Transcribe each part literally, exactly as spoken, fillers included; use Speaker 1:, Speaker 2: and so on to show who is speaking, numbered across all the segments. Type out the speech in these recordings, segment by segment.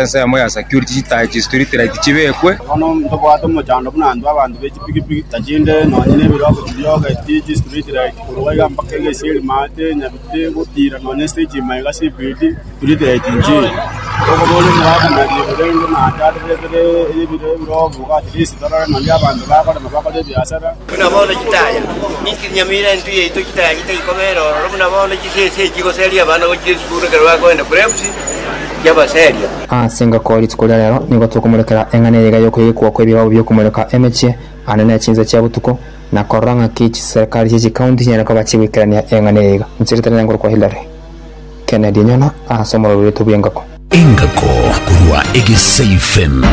Speaker 1: Ensemo ya security chitaya chi street light chibekwe.
Speaker 2: Bono ntobwate omochando buna intwe abanto be chipikipiki tachinde nonye na ebirogo chibiogeti chi street light korwa iga mpaka egesieri maate nyabite gotira nonye stage maiga C B D street light nchiyo. Tokoboria omogaka rende naende atoretere ebirogo at least torore nonye abanto bakorema bakore ebiasara.
Speaker 3: Buna bono chitaya ninki Nyamira entwe yaito chitaya chitaikobera ororo buna bono chisese chigoseria abana gochia esukuru ekero bakoenda Preps chiabaseria.
Speaker 4: Ase engako rituko ria rero nigo tokomorekera eng'ana eyega y'okoigekwa kw'ebibao bi'okomoreka emechie ane ne chinsa chia botuko na korora ng'aki chiserikali chie chikaunti chinyare koba chigwikerania eng'ana eyega. Inche ritarenge ngorokwa Hillary Kennedy Nyona ase omorero oito bw'engako.
Speaker 5: Engako korwa Egesa F M.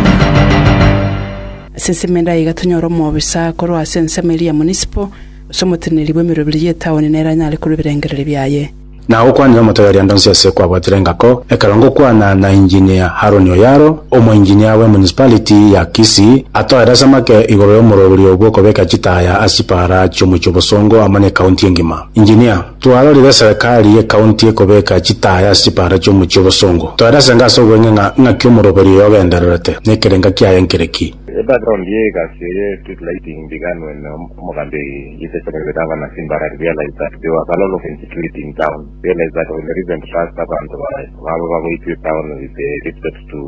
Speaker 6: Ase ensemo ende aiga tonyore omobisa korwa ase ensemo eria ya municipal ase omoteneneri bwa emeroberi ya etaoni nere anyare korwa ebirengererio biaye.
Speaker 7: Na gokwanera omotegeria ndonsi ase kwabwatire engako ekero ngokwana na Engineer Haron Oyaro, omoengineer we municipality ya Kisii, atoeresa make igoro y'omoroberi bw'okobeka chitaya ase chipara chiomochie Bosongo amo na ekaunti engima. Engineer, twarorire serikali y'ekaunti ekobeka chitaya ase chipara chiomochie Bosongo. Toerese ngase obweng'e ng'a ng'aki omoroberi oyo ogendererete nekerenga kiaye nkereki?
Speaker 8: The background ye ye street lighting began when um, Omogambi, His Excellency Governor Simba realized that there was a lot of insecurity in town. Realized that in the recent past, abantu baba bagoitwe town with the respect to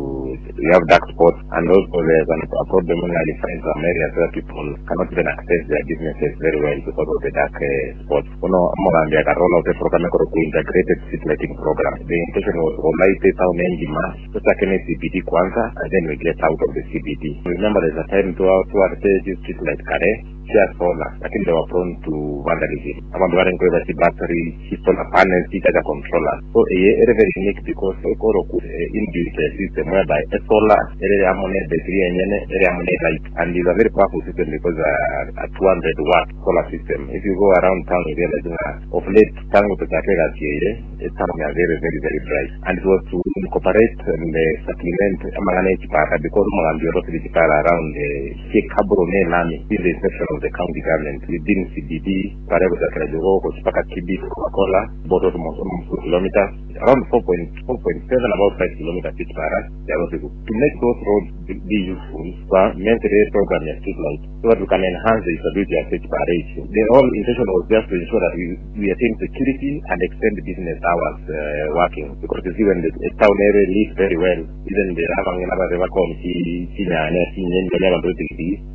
Speaker 8: you have dark spots, and also there's an, a problem when you find some areas where people cannot even access their businesses very well because of the dark uh, spots. Uno Omogambi aka roll out a program called integrated street lighting program. The intention was to light the town engima, tutakene C B D kwanza, and then we get out of the C B D. Remember, there's a time to to street light kare chia solar, lakini they were prone to vandalism. Abantu bari nkoeba chi battery, chi solar panels, chi charger controller. So eye ere very unique because ekoro ku eh, inbuilt a system whereby a solar ere amo ne battery enyene ere amo ne light, and it's a very powerful system because uh, a two hundred watt solar system. If you go around town, you realize that of late tangu tuchake gasieye town are very, very, very bright, and it was to incorporate and uh, supplement amang'ana echipara because omogambi orosire chipara around uh, Kabro ne lami in the inception of the county government within C B D pare kuchakira Jogoo mpaka Kibis Coca-Cola, about almost almost two kilometers, around four point four point seven, about five kilometers each para. To make those roads be be useful, so mentally program ya street light so that we can enhance the usability of each para issue. The whole intention was just to ensure that we, we attain security and extend business hours uh, working, because you see, when the town area lives very well, even the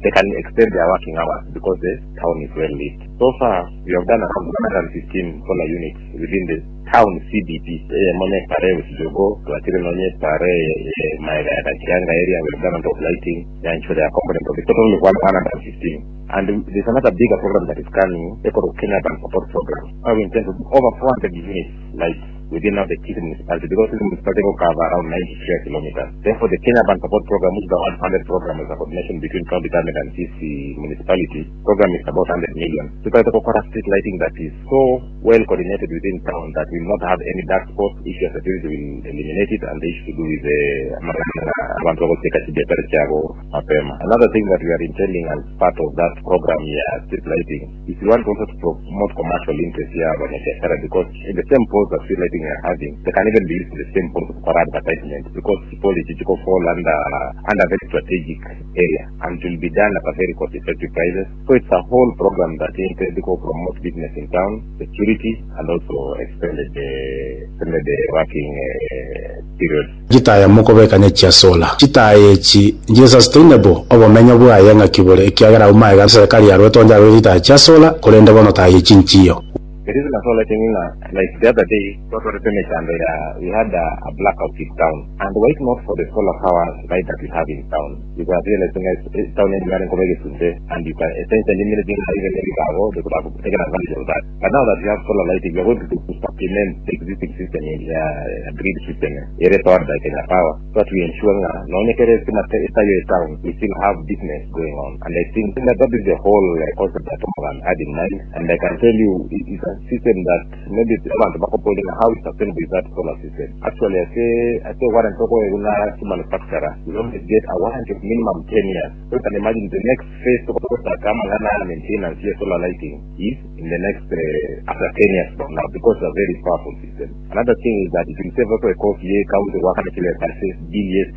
Speaker 8: they can extend their working hours because the town is well lit. So far, we have done around one hundred fifteen solar units within the town C B D. Eh, mone pare Usijogo, tuachire nonye pare eh, maega ya Kachianga area, we have done a lot of lighting, ya ensure their component of it. Total one hundred fifteen. And there's another bigger program that is coming, Eco Kenya Urban Support Program, where we intend to do over four hundred units lights within now the Kisii municipality, because Kisii municipality will cover around ninety square kilometers. Therefore, the Kenya Urban Support Program, which is the one hundred program, is a coordination between county government and Kisii municipality. Program is about one hundred million. So try to offer street lighting that is so well coordinated within town that will not have any dark spots. Issue of security will eliminate it, and the issue to do with the abantu bakoteka chibiashara chabo mapema. Another thing that we are intending as part of that program ya street lighting is we want also to promote commercial interest ya wafanyabiashara, because in the same post that street lighting we are having, they can even be used in the same post for advertisement, because policy to fall under under very strategic area and it will be done at a very cost effective prices. So it's a whole program that intends to promote business in town, security, and also extended the extended the working uh, period.
Speaker 7: Chitaya mokobekanya chia solar, chitaya echi nje sustainable obomenyo bwaye ng'aki bore ekiagera umaega serikali yarwete onde arwe chitaya chia solar korende bono taya echi nchiyo?
Speaker 8: The reason I saw lighting in, uh, like the other day, what was and uh, we had a, a blackout in town. And why not for the solar power light that we have in town? You can realize in town in and you can essentially immediately even they could have taken advantage of that. But now that we have solar lighting, we are going to, to supplement the existing system in the uh, grid system, area powered by Kenya Power, so that we ensure that no town, we still have business going on. And I think that that is the whole uh, concept that Omogan had in mind. And I can tell you, it is a system that maybe abantu bakopolinga how sustainable is that solar system. Actually, I say I say warranty kuna to manufacturer, you always get a warranty of minimum ten years. So you can imagine the next phase of kama ngana maintenance here solar lighting is in the next uh, after ten years from now, because it's a very powerful system. Another thing is that it will save also a cost ye county wakana kile bill yes.